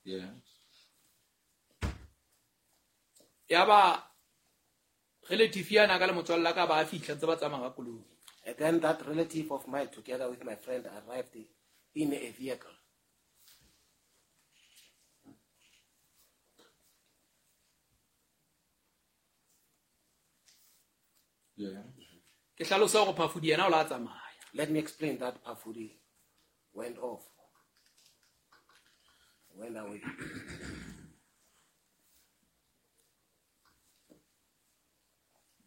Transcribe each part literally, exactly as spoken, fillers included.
Yeah. Ya ba relative yana ka le motswalla ka ba fihla ntse ba tsamaya ka koloi. And then that relative of mine, together with my friend, arrived in a vehicle. Yeah. Ke hlalosa hore Phafudi yena o la tsamaya. Let me explain that Phafudi went off. Went away.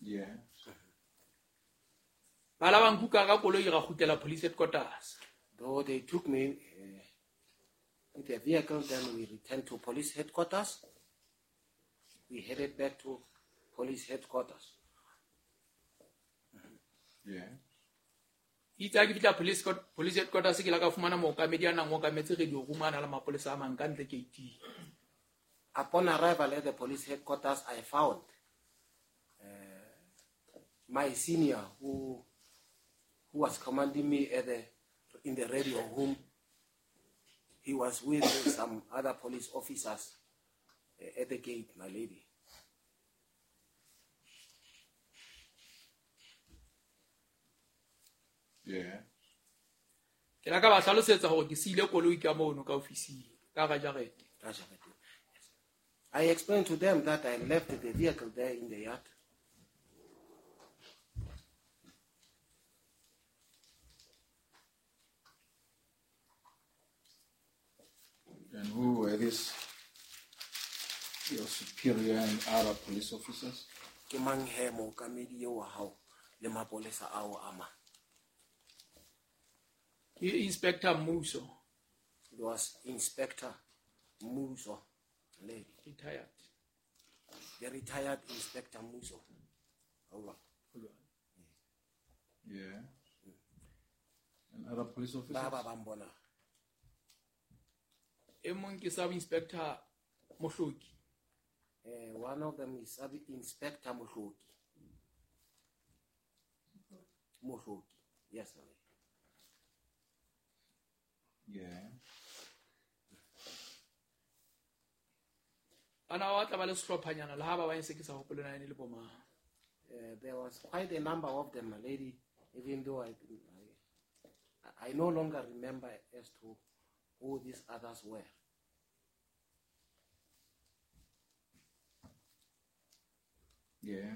Yeah. Ba la ba nkuka ka koloi ra kgutlela police headquarters. Though they took me, uh, in the vehicle, then we returned to police headquarters. We headed back to police headquarters. Yeah. Itse ha ke fihla police court, police headquarters ke la ka fumana mookamedi a nang okametse radio room a na le mapolesa a mang ka ntle gate. Upon arrival at the police headquarters, I found, uh, my senior who, who was commanding me at the, in the radio room. He was with some other police officers, uh, at the gate, my lady. Yeah. Ke la ka ba hlalosetsa hore ke siile koloi ka mono ka ofising, ka hara jarete. Ka jarete. Yes. I explained to them that I left the vehicle there in the yard. And who were these, your superior and other police officers? Ke mang he mookamedi eo wa hao le mapolesa ao a mang? Ke Inspector Muso. It was Inspector Muso, lady. Retired. The retired Inspector Muso. Hold on. Yeah. And other police officers? Ba ba bang bona. E mong ke Sub Inspector Mohloki. Eh, one of them is Sub Inspector Mohloki. Mohloki. Yes, ma'am. Yeah. Ana wa tla ba le sehlophanyana le ha ba bang se ke sa hopole na ene le bo mang. Uh, there was quite a number of them, my lady, even though I, I, I no longer remember as to who these others were. Yeah.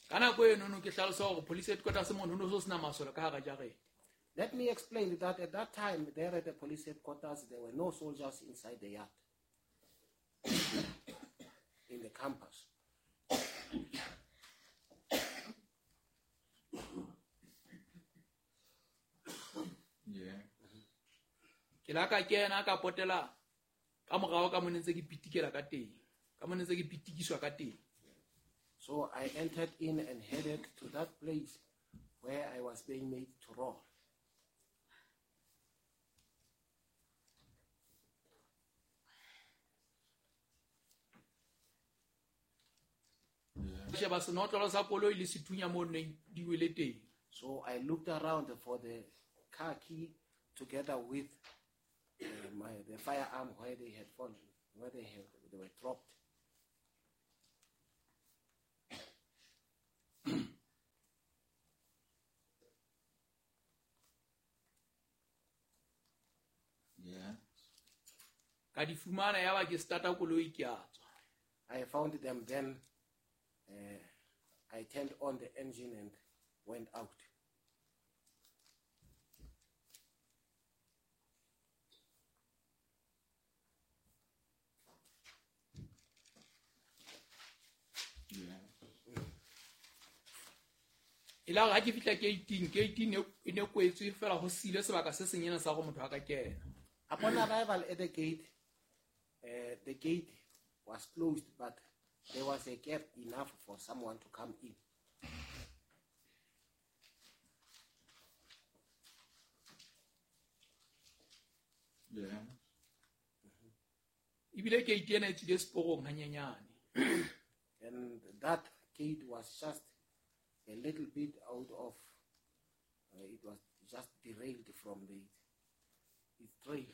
Ka nako eno no ke hlalosa hore police headquarters mono ho no sena masole ka hara jarete. Let me explain that at that time, there at the police headquarters, there were no soldiers inside the yard, in the campus. Yeah. Ke la ka kena ka potela ka morao ka mone ntse ke pitikela ka teng. Ka mone ntse ke pitikiswa ka teng. So I entered in and headed to that place where I was being made to roll. Sheba senotlolo sa koloi le sethunya mo neng di wele teng. So I looked around for the car key together with, uh, my, the firearm where they had fallen, where they had, they were dropped. Yeah. Ka di fumana ya ba ke starta koloi ke a tswa. I found them then. Uh, I turned on the engine and went out. Yeah. E la ha ke fihla gate-ing, gate-ing e ne kwetswe fela ho sile sebaka se senyane sa go motho a ka kena. Upon arrival at the gate, uh, the gate was closed, but there was a gap enough for someone to come in. Yeah. Ebile gate ena e tswile seporong hanyenyane. And that gate was just a little bit out of, uh, it was just derailed from the its trail.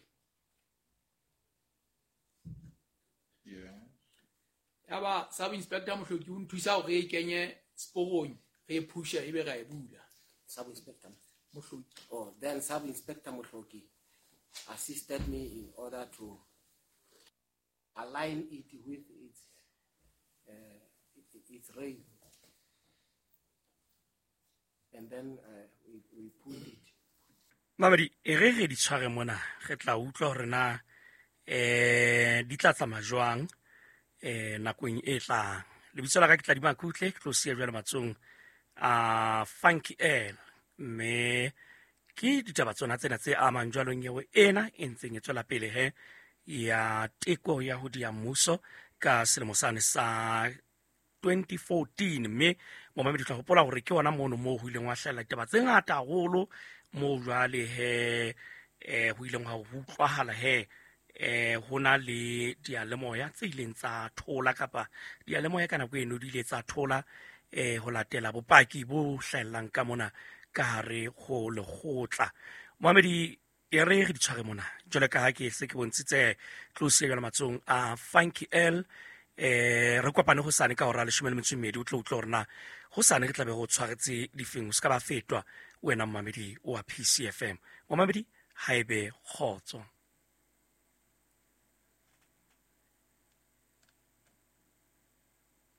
Yaba sub inspector Mohloki o nthusa hore e kenye seporong re e phusha ebe ra e bula. Sub inspector Mohloki. Oh, then sub inspector Mohloki assisted me in order to align it with its uh, its rail, and then uh, we, we pulled it. Mamedi, e re re di tshware mona, re tla utlwa hore na eh di tla tsamaya jwang eh nakong e tlang. Lebitso la ka ke Tladima Kutle, ke tlo siya jwale matsong a Funky L, mme ke ditaba tsona tsena tse amang jwalo nyewe ena e ntseng e tswela pele he ya teko ya ho dia mmuso ka selemo sane sa twenty fourteen. Mme momamedi tla hopola hore ke ona mono moo ho ileng wa hlahella ditaba tse ngata haholo, moo jwale he eh ho ileng ha utlwahala he eh ho na le diyalemoya tse ileng tsa thola kapa diyalemoya ka nako eno di ile tsa thola eh ho latela bopaki bo hlahellang ka mona ka hare ho lekgotla. Momamedi, e re re di tshware mona jwale ka ha ke se ke bontshitse tlo siya jwale matsong a Funky L. Eh re kopane hosane ka hora ya leshome le metso e mmedi, o tlo utlwa hore na hosane re tla be ho tshwaretse difeng, o se ka ba fetwa wena momamedi wa P C F M. Momamedi, haebe kgotso.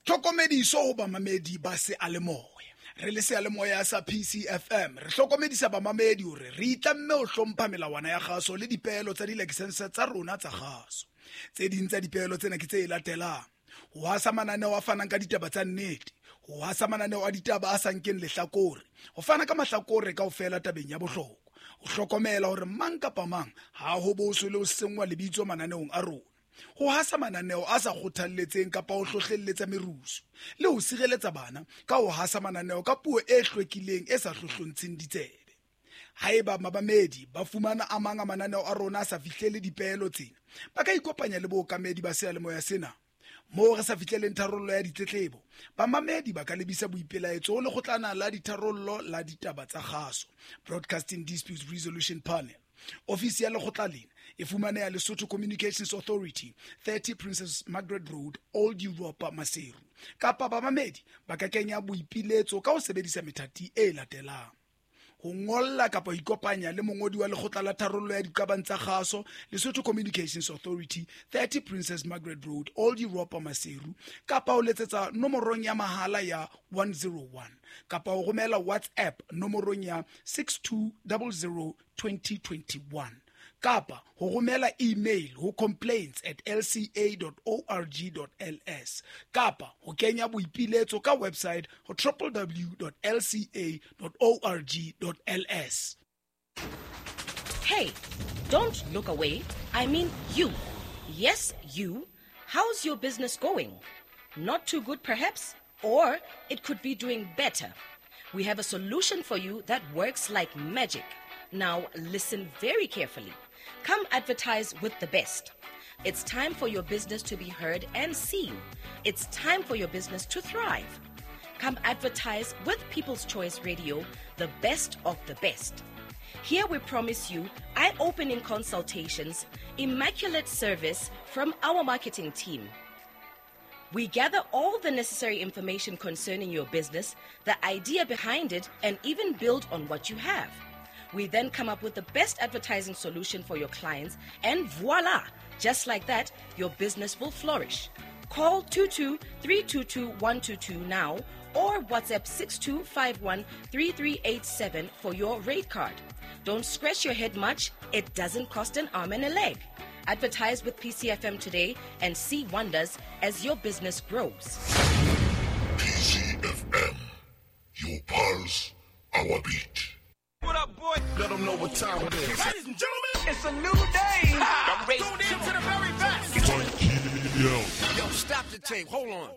Tlhokomediso ho bamamedi ba seyalemoya. Re le seyalemoya sa P C F M re hlokomedisa bamamedi hore re itlamme ho hlompha melawana ya kgaso le dipeelo tsa dilakesense tsa rona tsa kgaso. Tse ding tsa dipeelo tsena ke tse latelang: ho hasa mananeo a fanang ka ditaba tsa nnete, ho hasa mananeo a ditaba a sa nkeng lehlakore, ho fana ka mahlakore kaofela tabeng ya bohlokwa, ho hlokomela hore mang kapa mang ha ho boswe le ho senngwa lebitso mananeong a rona, ho hasa mananeo a sa kgothalletseng kapa ho hlohlelletsa merusu, le ho sireletsa bana ka ho hasa mananeo ka puo e hlwekileng e sa hlohlontsheng ditsebe. Haeba mabamedi ba fumana a mang a mananeo a rona a sa fihlele dipeelo tsena, ba ka ikopanya le bookamedi ba seyalemoya sena. Moo re sa fihleleng tharollo ya ditletlebo, bamamedi ba ka lebisa boipelaetso ho lekgotlana la ditharollo la ditaba tsa kgaso, Broadcasting Disputes Resolution Panel. Ofisi ya lekgotla lena e fumaneha Lesotho Communications Authority, thirty Princess Margaret Road, Old Europa, Maseru. Kapa bamamedi ba ka kenya boipiletso ka ho sebedisa methati e latelang: ho ngolla kapa ho ikopanya le mongodi wa lekgotla la tharollo ya diqabang tsa kgaso, Lesotho Communications Authority, thirty Princess Margaret Road, Old Europa, Maseru, kapa ho letsetsa nomorong ya mahala ya one zero one, kapa ho romela WhatsApp nomorong ya six two zero zero twenty twenty-one, kapa ho romela email ho complaints at l c a dot org dot l s, kapa ho kenya boipiletso ka website ho w w w dot l c a dot org dot l s. Hey, don't look away. I mean you. Yes, you. How's your business going? Not too good perhaps, or it could be doing better. We have a solution for you that works like magic. Now listen very carefully. Come advertise with the best. It's time for your business to be heard and seen. It's time for your business to thrive. Come advertise with People's Choice Radio, the best of the best. Here we promise you eye-opening consultations, immaculate service from our marketing team. We gather all the necessary information concerning your business, the idea behind it, and even build on what you have. We then come up with the best advertising solution for your clients, and voila! Just like that, your business will flourish. Call two two three two two one two two now or WhatsApp six two five one three three eight seven for your rate card. Don't scratch your head much. It doesn't cost an arm and a leg. Advertise with P C F M today and see wonders as your business grows. P C F M, your pulse, our beat. What up, boy? Let them know what time it is. Ladies and gentlemen, it's a new day. I'm ready. Tune in to the very best. Yo. Yo, stop the tape. Hold on.